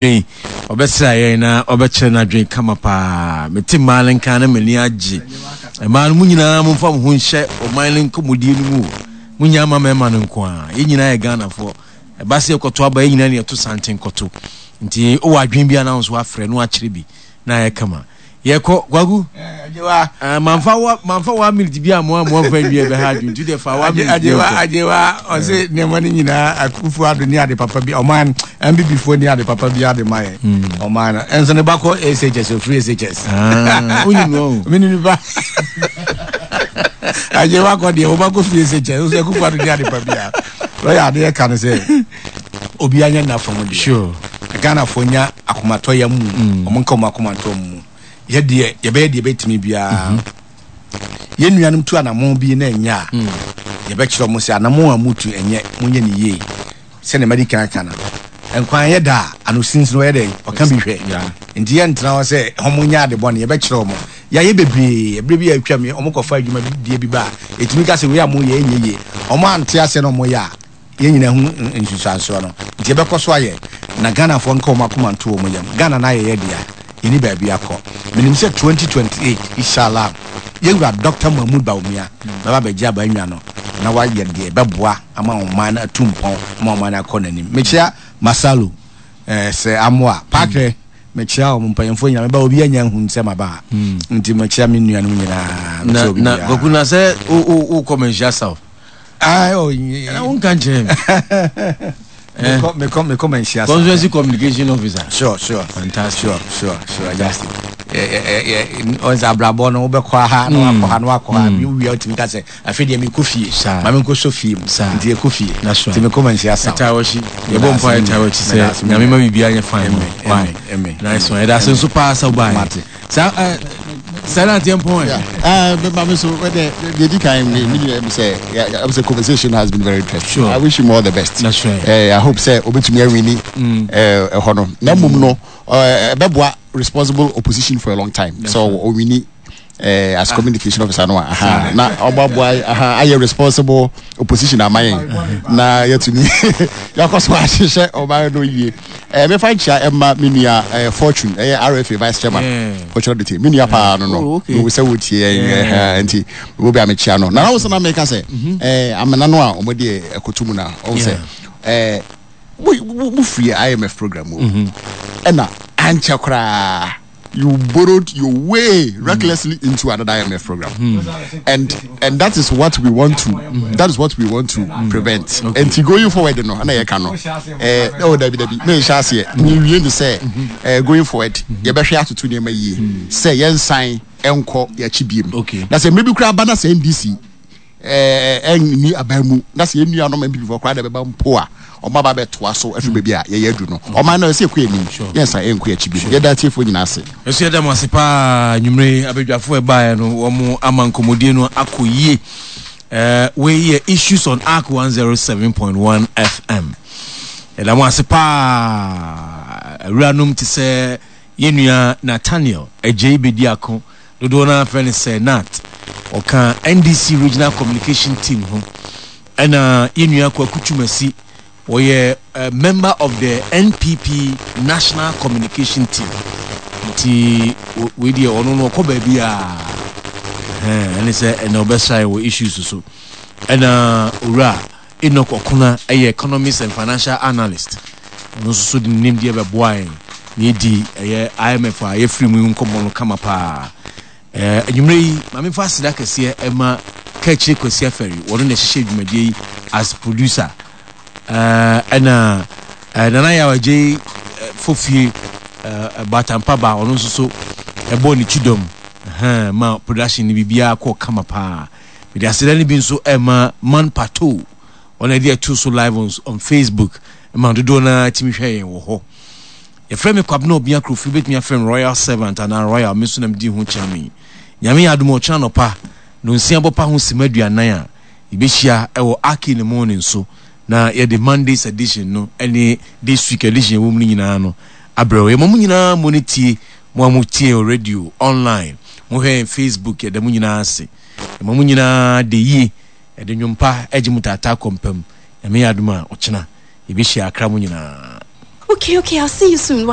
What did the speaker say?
Yi, ɔbɛsra yɛn na ɔbɛkyerɛ n'adwene kama paa. Mete mmaa no nka na m'ani agye. Mmaa no, mo nyinaa momfa mo ho nhyɛ ɔman no nkɔmmɔdie no mu o. Monnya mma mmarima no nko ara. Yɛn nyinaa yɛ Ghanafoɔ. Ɛba sɛ yɛkɔto aba, yɛn nyinaa na yɛto santen kɔto. Nti wowɔ adwene bi a na wo nso woafrɛ na woakyerɛ bi na ayɛ kama. Yɛkɔ, Kwaku. Agyewa. Ah, manfa wa manfa one minute bi amoa amoa mfa nwie ɛbɛha adwene nti deɛ fa one minute bi Agyewa nkɔ. agyewa ɔse nneɛma no nyinaa akufo ado ne ade papa bi ɔman MBB foɔ ni ade papa bi ade ma yɛ ɔman no ɛnso ne ba kɔ SHS ofiri SHS. Ah, wonim no o. Mene nipa agyewa kɔ deɛ wɔba kɔ firi SHS nso akufo ado ne ade pa bi a lɔya adeɛ ka no sɛ obiara nyɛ nna fam deɛ. Sure. Ghanafoɔ nya akomatɔyam mu, wɔn nka wɔn akoma nto wɔn mu. Yɛ deɛ yɛbɛyɛ deɛ yɛbɛtumi biara. Mhm. Yɛn nuanom tu anamɔn bi na ɛnyɛ a, mm. yɛbɛkyerɛ wɔn sɛ anamɔn a mutu ɛnyɛ, monyɛ ne yie. Sɛdeɛ madi kan aka no, nkwan yɛ da a, ano sinsin ɔyɛ dɛn ɔka bi hwɛ. Nti yɛntena hɔ sɛ wɔn nyɛ ade bɔne, yɛbɛkyerɛ wɔn. Yɛayɛ bebree, ɛberɛ bi a atwam wɔn kɔfa adwuma bi die bi ba a, ɛtumi ka sɛ wei a moyɛ ɛnyɛ yie. Wɔn ante aseɛ na wɔyɛ a, Yɛn nyinaa hu nsunsuansoɔ no, nti yɛbɛkɔ so ayɛ na Ghanafoɔ nka wɔn akoma nto wɔn yam. Ghana no ayɛ yɛ dea, yɛnni baabi akɔ. Menim sɛ 2028, Ishallah, yɛn wura Dɔkta Mahmood Bawumia bɛba abɛgye abannwa no na wayɛ deɛ ɛbɛboa ama ɔman no atu mpɔn, ama ɔman no akɔ n'anim. Mekyea Masalu, eh, Sir Amoah, Parker, mekyea wɔn mpanyinfoɔ nyinaa, meba obi anya nhunu sɛ maba ha, nti mekyea me nuanom nyinaa, mekyea Na, obi na, biara. Kwaku, na sɛ wo, wo, wokɔ Manhyia South? Ah, oh, na wonka nkyerɛ me. Mekɔ mekɔ mekɔ manhyia sa. Constituency communication officer. Sure. Fantastic. Sure. Just ɔn sɛ abrabɔ no wobɛkɔ ha na wakɔ ha na wakɔ ha bi wia wotumi ka sɛ afei deɛ mekɔ fie ma menkɔ sɔ fie mu nti yɛkɔ fie nti mekɔ manhyia sa. Ɛtaa wɔkyi yɛbɔ mpa ɛtaa wɔkyi sɛ nyame ma biribiara nyɛ fine. Nice one. Ɛda ase nso paa sɛ wobaeɛ. Saa ɛ saa na ateɛ mpɔn ɛ. Yeah. Maame so wɛdɛ deɛ di kan mi mi nua mi sɛ ɛm sɛ conversation has been very interesting. Sure. I wish him all the best. That's right. I hope sɛ obetumi awini ɛhɔ no. Na mmom no ɛbɛboa responsible opposition for a long time. That's So right. owini as communication officer no a aha na ɔbɛboa aha ayɛ responsible opposition ama yɛn na yɛtumi yɛakɔ so ahyehyɛ ɔman no yie. Eh, mefa nkyia ɛma me nua eh, Fortune ɛyɛ RFA vice chairman Yeah. Fortune Odete me nua paa no no Oh, okay. mewu sɛ wotie yɛn Yeah. eh, nti wo bi a mekyia no na na wo sɛ na meka sɛ eh, amena no a wɔde ɛkɔto mu no a ɔhu sɛ eh, mo mo firi IMF program mu ɛna ankyɛ koraa you borrowed your way recklessly into another IMF program. Mm. And and that is what we want to that is what we want to mm. prevent. Okay. And going forward no, na yɛ ka no. Eh oh dabi dabi. Me nhyɛ aseɛ. Me wie ne sɛ eh going forward yɛbɛhwɛ atoto nneɛma yie sɛ yɛnsan ɛnkɔ yɛakyi biem. Okay. Na sɛ mmerɛ bi koraa ba na sɛ NDC ɛnni aban mu na sɛ yɛn nuanom mpipifoɔ koraa na ɛbɛba mpo a wɔn aba abɛtoa so afiri baabi a yɛyɛ adu no ɔman no ɛsɛ ɛkɔ anim yɛnsa ɛnkɔ akyi bio yɛda atiefoɔ nyinaa ase. Nso yɛda mo ase paa anwummere yi abadwafoɔ ɛbaeɛ no wɔn ama nkɔmmɔdie no akɔ yie. Eh, wei yɛ Issues on Ark 107.1 FM. Yɛda mo ase paa awuranom te sɛ yɛn nua Nathaniel Agyei Bediako Dodoɔ no ara frɛ no Sir Nat. Ɔka NDC Regional Communication Team ho. Ɛna yɛn nua Kwaku Twumasi, ɔyɛ member of the NPP National Communication Team. Nti wei deɛ ɔno no ɔkɔ baabiara. Ɛne sɛ ɛna ɔbɛsra yɛn wɔ issues so. Ɛna Owura Enoch Okuna yɛ Economist and Financial Analyst. Ɔno nso so de ne nimdeɛ bɛboa yɛn na yɛadi ɛyɛ IMF a yɛafiri mu yi nkɔmmɔ no kama paa. Ɛɛ anwummerɛ yi, ma memfa aseda kɛseɛ ɛma Kaakyire Kwasi Afari, wɔno na ɛhyehyɛ dwumadie yi as producer. Ɛɛ ɛna ɛɛ Nana Yaw Agyei Fofie ɛɛ Batampa ba, ɔno nso so ɛbɔɔ ne kyidɔm ɛhɛn ma production no biribiara kɔɔ kama paa. Mede aseda no bi nso rema Man Pato, wɔn a yɛde ɛto so live on, on Facebook ma dodoɔ no ara tumi hwɛ yɛn wɔ hɔ. Yɛfrɛ me Kwabena Obia Kofi, wobɛtumi afrɛ me Royal Servant anaa Royal, me nso na medi ho kyea me. Nyame yɛ adom a ɔkyena anɔpa, nonsia bɔpa ho sima aduanan a, yɛbɛhyia wɔ Ark in the Morning so na yɛde Monday's edition no ne this week edition ɛwɔ mu no nyinaa no abrɛ wo. Yɛma mo nyinaa mo ne tie, mo a motie yɛn wɔ radio, online, mohwɛ yɛn Facebook, yɛda mo nyinaa ase. Yɛma mo nyinaa da yie, yɛde nnwom pa gye mo taataa kɔ mpa mu. Nyame yɛ adom a, ɔkyena yɛbɛhyia akra mo nyinaa. Okay, okay, I'll see you soon. Why?